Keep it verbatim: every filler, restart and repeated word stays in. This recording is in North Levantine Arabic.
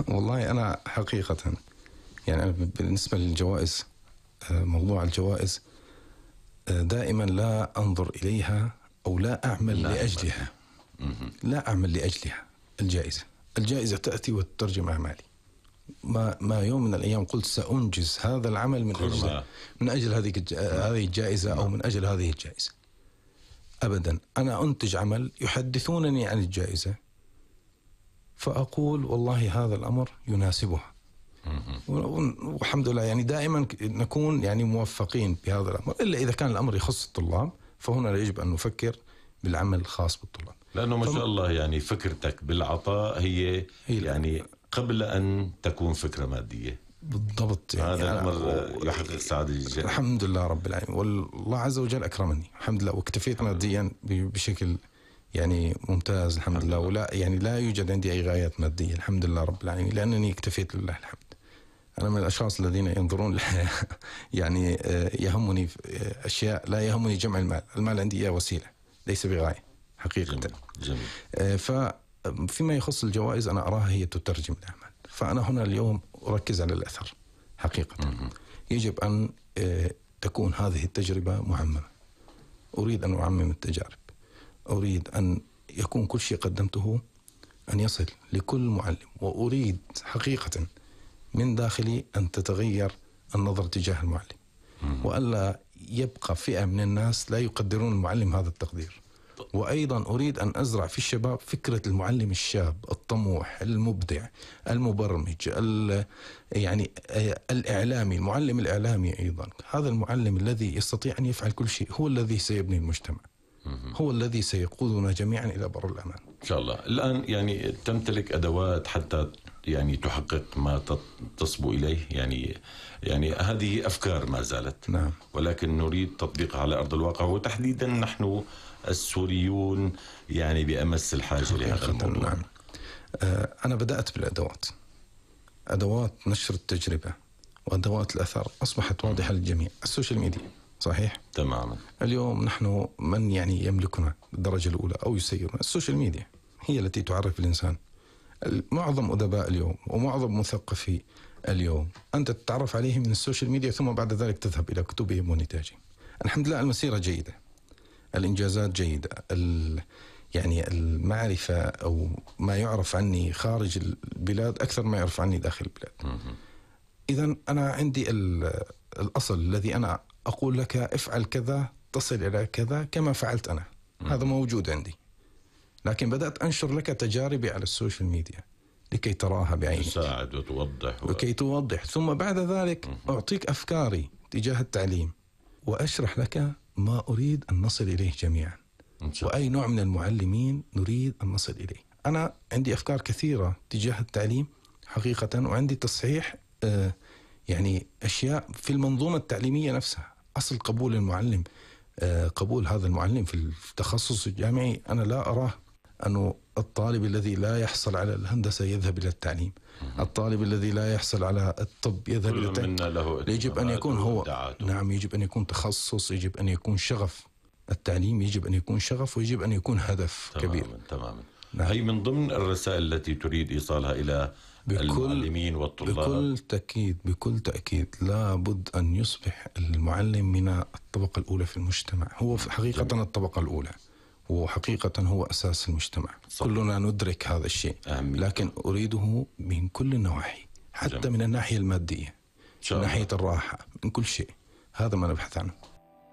والله أنا حقيقة يعني أنا بالنسبة للجوائز، موضوع الجوائز دائما لا أنظر إليها أو لا أعمل لا لأجلها لا أعمل لأجلها الجائزة الجائزة تأتي وتترجم أعمالي. ما ما يوم من الأيام قلت سأنجز هذا العمل من أجل من أجل هذه هذه الجائزة أو من أجل هذه الجائزة. أبدا، أنا أنتج عمل يحدثونني عن الجائزة فأقول والله هذا الأمر يناسبها، والحمد لله يعني دائما نكون يعني موفقين بهذا الأمر، إلا إذا كان الأمر يخص الطلاب فهنا يجب أن نفكر بالعمل الخاص بالطلاب. لأنه ما شاء الله يعني فكرتك بالعطاء هي, هي يعني قبل أن تكون فكرة مادية. بالضبط، يعني هذا الأمر يحقق سعادة الجميع. الحمد لله رب العالمين، والله عز وجل أكرمني الحمد لله، واكتفيت ماديا بشكل يعني ممتاز الحمد لله، ولا يعني لا يوجد عندي أي غايات مادية الحمد لله رب العالمين، لأنني اكتفيت لله الحمد. أنا من الأشخاص الذين ينظرون للحياة يعني يهمني أشياء، لا يهمني جمع المال، المال عندي إياه وسيلة ليس بغاية حقيقة. جميل. جميل. ففيما يخص الجوائز أنا أراها هي تترجم الأعمال، فأنا هنا اليوم أركز على الأثر حقيقة. م- يجب أن تكون هذه التجربة معممة، أريد أن أعمم التجارب، أريد أن يكون كل شيء قدمته أن يصل لكل معلم، وأريد حقيقة من داخلي أن تتغير النظر تجاه المعلم، وألا يبقى فئة من الناس لا يقدرون المعلم هذا التقدير. وأيضا أريد أن أزرع في الشباب فكرة المعلم الشاب الطموح المبدع المبرمج يعني الإعلامي، المعلم الإعلامي أيضا، هذا المعلم الذي يستطيع أن يفعل كل شيء هو الذي سيبني المجتمع، هو الذي سيقودنا جميعا إلى بر الأمان إن شاء الله. الآن يعني تمتلك أدوات حتى يعني تحقق ما تصبو إليه، يعني يعني هذه أفكار ما زالت. نعم. ولكن نريد تطبيقها على أرض الواقع، وتحديدا نحن السوريون يعني بأمس الحاجة لهذا الموضوع. نعم. أنا بدأت بالأدوات، أدوات نشر التجربة وأدوات الأثر أصبحت واضحة للجميع. السوشيال ميديا صحيح تماما، اليوم نحن من يعني يملكنا بالدرجة الأولى أو يسيرنا، السوشيال ميديا هي التي تعرف الإنسان. معظم أدباء اليوم ومعظم مثقفي اليوم أنت تتعرف عليه من السوشيال ميديا، ثم بعد ذلك تذهب إلى كتبهم ونتاجهم. الحمد لله المسيرة جيدة، الإنجازات جيدة، يعني المعرفة أو ما يعرف عني خارج البلاد أكثر ما يعرف عني داخل البلاد. إذن أنا عندي الأصل الذي أنا أقول لك افعل كذا تصل إلى كذا كما فعلت أنا، هذا موجود عندي، لكن بدأت أنشر لك تجاربي على السوشيال ميديا لكي تراها بعينك، تساعد وتوضح و... لكي توضح، ثم بعد ذلك أعطيك أفكاري تجاه التعليم وأشرح لك ما أريد أن نصل إليه جميعا، وأي نوع من المعلمين نريد أن نصل إليه. أنا عندي أفكار كثيرة تجاه التعليم حقيقة، وعندي تصحيح آه يعني أشياء في المنظومة التعليمية نفسها. أصل قبول المعلم، آه قبول هذا المعلم في التخصص الجامعي، أنا لا أراه أنه الطالب الذي لا يحصل على الهندسة يذهب إلى التعليم، الطالب الذي لا يحصل على الطب يذهب إلى التعليم. يجب أن يكون هو نعم يجب أن يكون تخصص، يجب أن يكون شغف التعليم، يجب أن يكون شغف، ويجب أن يكون هدف تماماً كبير. تماما. نعم. هي من ضمن الرسائل التي تريد إيصالها إلى بكل المعلمين والطلاب. بكل تأكيد بكل تأكيد لابد أن يصبح المعلم من الطبقة الأولى في المجتمع. هو في حقيقة جميل. الطبقة الأولى وحقيقة هو أساس المجتمع. صح. كلنا ندرك هذا الشيء، أهمية. لكن أريده من كل النواحي، حتى جميل. من الناحية المادية، من ناحية الراحة، من كل شيء. هذا ما نبحث عنه.